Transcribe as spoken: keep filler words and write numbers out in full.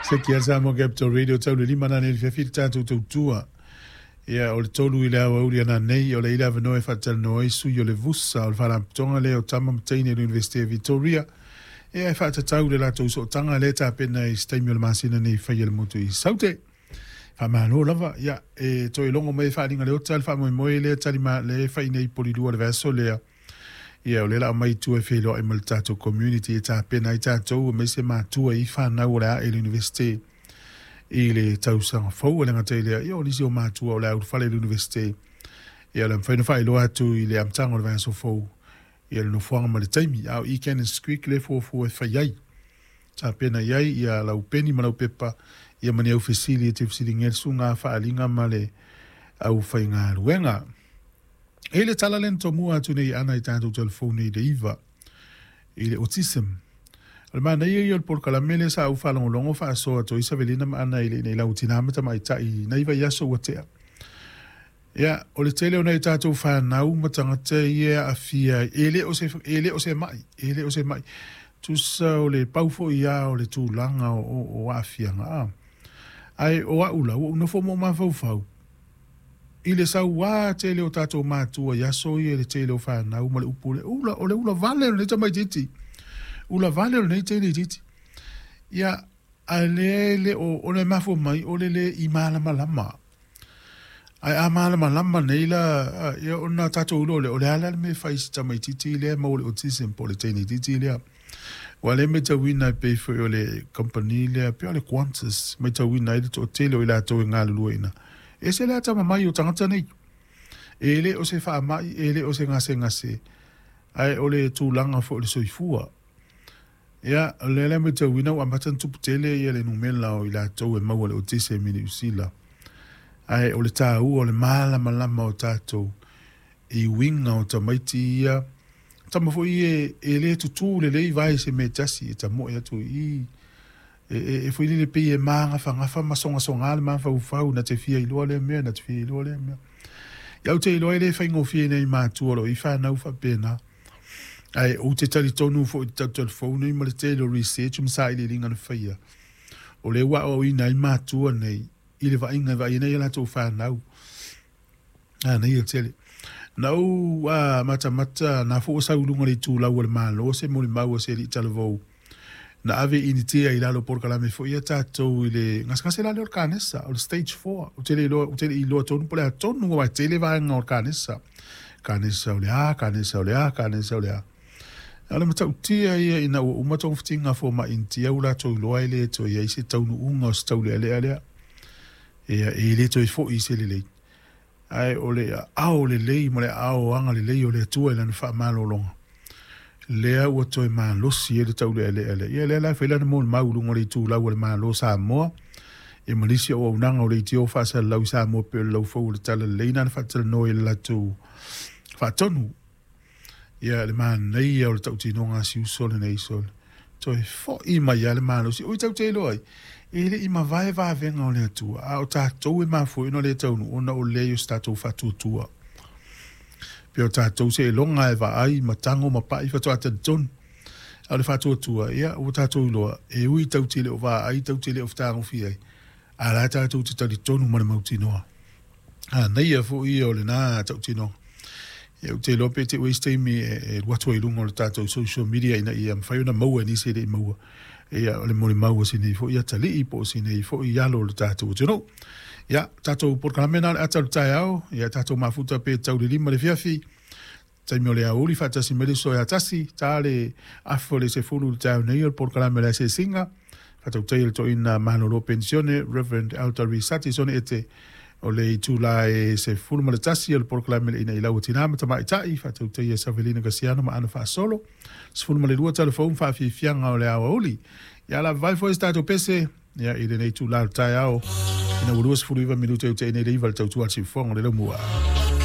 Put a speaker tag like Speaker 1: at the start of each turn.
Speaker 1: Se kia Samoa Capital Radio tau le lima nane le fiafi le tātou tautua. Ia o le tolu i le aoauli ana nei o le ila avanoa e faatalanoa ai sui o le Vusa o le Faalapotopotoga lea o Tama ma Teine o le Universite o Victoria. Ia e faatatau le latou sootaga lea tapena i se taimi o le masina nei faia le motu i Saute. Faamalo lava, ia e toe logo mai e faaliga le ota le faamoemoe lea talima le fai nei polilua le vaiaso lea. Ia o le la mai tua e feiloai ma le tatou community e tapena ai tatou aemaise matua i fanau o le a e le Universite i le tausaga fou. E le gata i lea, ia o nisi o matua o le a ulufale i le Universite. Ia o le mafai ona faailoa atu i le amataga o le vaiaso fou ia le nofoaga ma le taimi. A o i Cannons Creek le fuafua e fai ai. Tapena i ai ia lau peni ma lau pepa ia ma ni au fesili e te fesiligia le susuga faaliga ma le aufaigaluega. E le tala lea na tomua atu nei ana i tatou telefoni i le iva i le autism. O le manaia ia o le polokalame lea sa ou faalogologo faasoa atu ai Savelina ma Ana i le ina i lau tinā ma tamaitai nai vaiaso ua tea. Ia, o le tele o nai tatou fanau ma tagata ia e aafia ai, e le o se, e le o se ma'i, e le o se ma'i. Tusa o le pau foi ia o le tulaga o, o, o aafiaga. A. Ae o au la, ua ou nofo ma ou mafaufau i le sauā tele o tatou matua i aso ia i le tele o fanau ma le upu lea, ula, o le ula vale o lenei tamaitiiti, ula vale o lenei teneitiiti. Ia, ae lea e le o, ona e mafua mai o le le i malamalama. Ae a malamalama nei la, ia ona tatou iloa lea, o le a la le mea e fai i si tamaitiiti lea e maua le autism po o le teneitiiti lea. Ua le matauina e pei foi o le kamupani lea, pei o le Qantas, matauina ai le toatele o i latou e galulue i ina. E ese le atamamai o tagata nei. E le o se faamai, e le o se gasegase, ae o le tulaga foi o le soifua. Ia, o lea la e matauina ua amata ona tupu tele ia le numera o i latou e maua le autism i Niu Sila. Ae o le taua o le malamalama o tatou i uiga o tamaiti ia, tama foi e, e le tutū lelei vae i se mea e tasi e tamoe atu i i. E, e, e foi lele pei e magafagafa ma sogasoga le mafaufau na te fia iloa lea mea, na te fia iloa lea mea. Ia ou te iloa e le faigofie nei matua o lo o i fanau faapena. Ae ou te talitonu foi i te tautalifou nei ma le tele o research ma sailiiliga na faia. O lea ua aoaoina ai matua nei i le vaaiga e vaai ai nei a latou fanau. A nei e tele. Na ou a, matamata na foi ua sau i luga o le itulau a le Malo se molimau a se alii talavou. Na ave i Initia i lalo o polokalame foi ia tatou i le gasegase la lea o le kanesa, o le stage four. Ou te le iloa, ou te le i iloa tonu po o le a tonu aua e tele vaega o le kanesa. Kanesa o le a, kanesa o le a, kanesa o le a. A o le matautia ia ina ua uma togafitiga a fomai Initia ua latou iloa e le toe i ai se taunuuga o se taulealea lea. Ia, e le toe foi i se lelei. Ae o le aao lelei ma le aao agalelei o le Atua i Lana faamalologa, lea ua toe malosi ai le taulealea lea. Ia lea la e fai lana molimau i luga o le itulau a le Malo o Samoa, ia ma nisi o auaunaga o leitio faasalalau i Samoa pei o le laufou o le Talalelei na na faatalanoa i le latou faatonu. Ia le manaia o le tautinoga a si uso lenei sole. Toe foi mai lava le malosi. Oi tau te iloa ai, e le i mavae vavega o le Atua, a o tatou e mafua ai ona le taunuu ona o leai o se tatou faatuatua. Pei o tatou seiloga e vaai ma tago ma pai faatoa talitonu. A o le faatuatua, ia, ua tatou iloa, e ui tau te le o vaai, tau te le o fetagofi ai, a la tatou te talitonu ma le mautinoa. Manaia foi ia o lena tautinoga. Ia, ou te iloa pe te ua i se taimi e, e alu atu ai i luga o le tatou social media ina ia mafai ona maua e nisi e le i maua. Ia, o le molimau a si nei foi atalii po o si nei foi alo o le tatou atunuu. Ia, tatou polokalame na o le ata o le taeao, ia tatou mafuta pe tau le lima le fiafi. Taimi o le aoauli faatasi mai le uso ia tasi, ta le afa o le sefulu i le taeao nei o le polokalame o le asiasiga. Faatautai o le toeaina malolo penisione Reverend Elder Risati Sone Ete o le itula e sefulu ma le tasi o le polokalame le ina i lau o tinā ma tamaitai, faatautai e Savelina Kasiano ma Ana Faasolo, sefulu ma le lua talafou ma faafiafiaga o le aoauli. Ia lavavai foi se tatou pese, ia i lenei itula o le taeao, ina ua luasefulu iva minute i utaina i le iva le tautua a le siufofoga o le laumua.